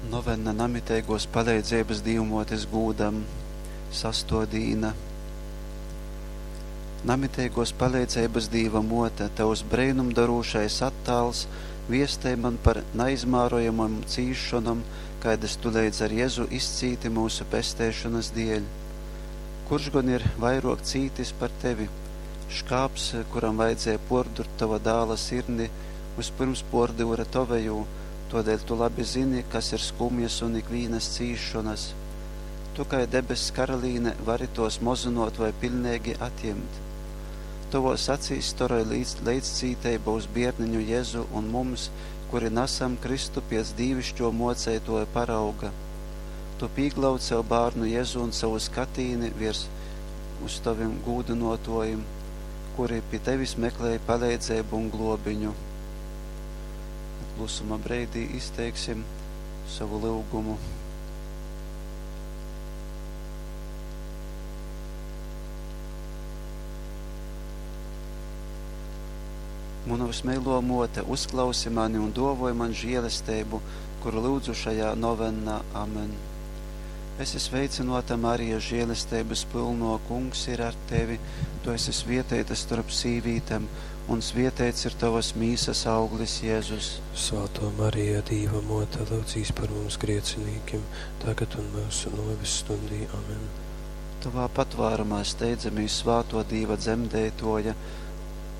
Novenna Namiteiguos paleidzeibys Dīvmuotis gūdam. Sastuo dīna. Namiteiguos paleidzeibys Dīva Muote, Tovs breinumdorūšais attāls viestej man par naizmārojamom cīsšonom, kaidys Tu leidz ar Jezu izcīti myusu pesteišonys dieļ. Kurš gon ir vairuok cītis par Tevi? Škāps, kuram vajadzēja puordurt Tova dāla sirdi, vyspyrms puordyure Tovejū, tuodeļ Tu labi zini, kas ir skumjas un ikvīnas cīsšonas. Tu kai debess karalīne vari tuos mozynuot voi piļneigi atjimt. Tovuos acīs storoj leidzcīteiba uz Bierneņu Jezu un mums, kuri nasam krystu piec dīviškuo Muoceituoja parauga. Tu pīglaud sev Bārnu Jezu un sovu skatīni viers uz Tovim gūdynuotuojim, kuri pi Tevis meklej paleidzeibu un gluobiņu. Klusuma breidī izteiksim sovu lyugumu. Muna vysmeiluo Muote, uzklausi mani un duovoj man žielesteibu, kuru lyudzu šajā novennā. Amen. Esi sveicynuota, Marija, žielesteibys pylnuo, Kungs ir ar tevi. Tu esi svieteita storp sīvītem, un svieteits ir tovys mīsys auglis, Jezus. Svātō Marija, Dīva Mōte, lyudzīs par mums griecinīkim, tagad un myusu nōves stundī. Amen. Tovā patvārumā steidzamīs, svātuo Dīva dzemdeituoja,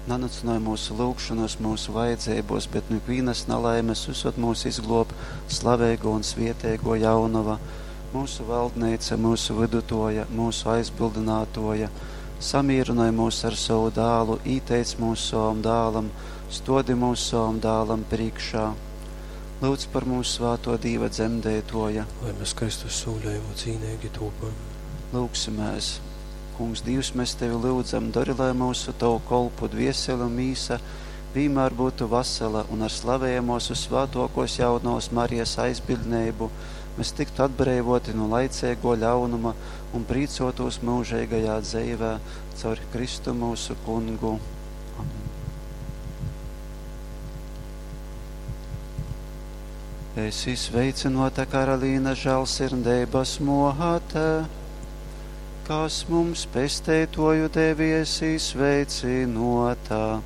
nanycynoj myusu lyugšonys myusu vajadzeibuos, bet nu ikvīnys nalaimes vysod myus izgluob slaveiguo un svieteiguo Jaunova, myusu valdneica, myusu vydutuoja, myusu aizbyldynātuoja. Samīrynoj myus ar sovu dālu, īteic myus sovam dālam, stuodi myus sovam dālam prīškā. Lyudz par mums, svātuo Dīva dzemdeituoja. Lai mēs Kristus sūļojumu cīneigi tūpam. Lyugsimēs! Kungs Dīvs, mēs Tevi lyudzam, dori, lai myusu Tovu kolpu dviesele un mīsa vīnmār byutu vasala un ar slavejamuos vyssvātuokuos Jaunovys Marijas aizbiļdneibu mes tyktu atbreivuoti nu laiceiguo ļaunuma un prīcuotūs myužeigajā dzeivē caur Kristu myusu Kungu. Amen. Esi sveicynuota, Karalīna, žālsirdeibys muote, kas mums pesteituoju devi, esi sveicynuota.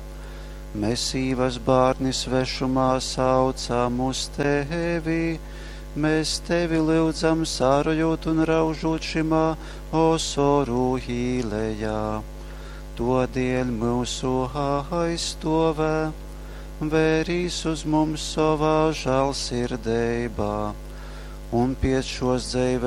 Mēs Īvas bārni svešumā saucam uz tevi, mēs tevi lyudzam, sārojot un raužot šimā osoru īlejā. Todieļ myusu aizstovē, vērīs uz mums sovā žālsirdeibā un piec šos dzeives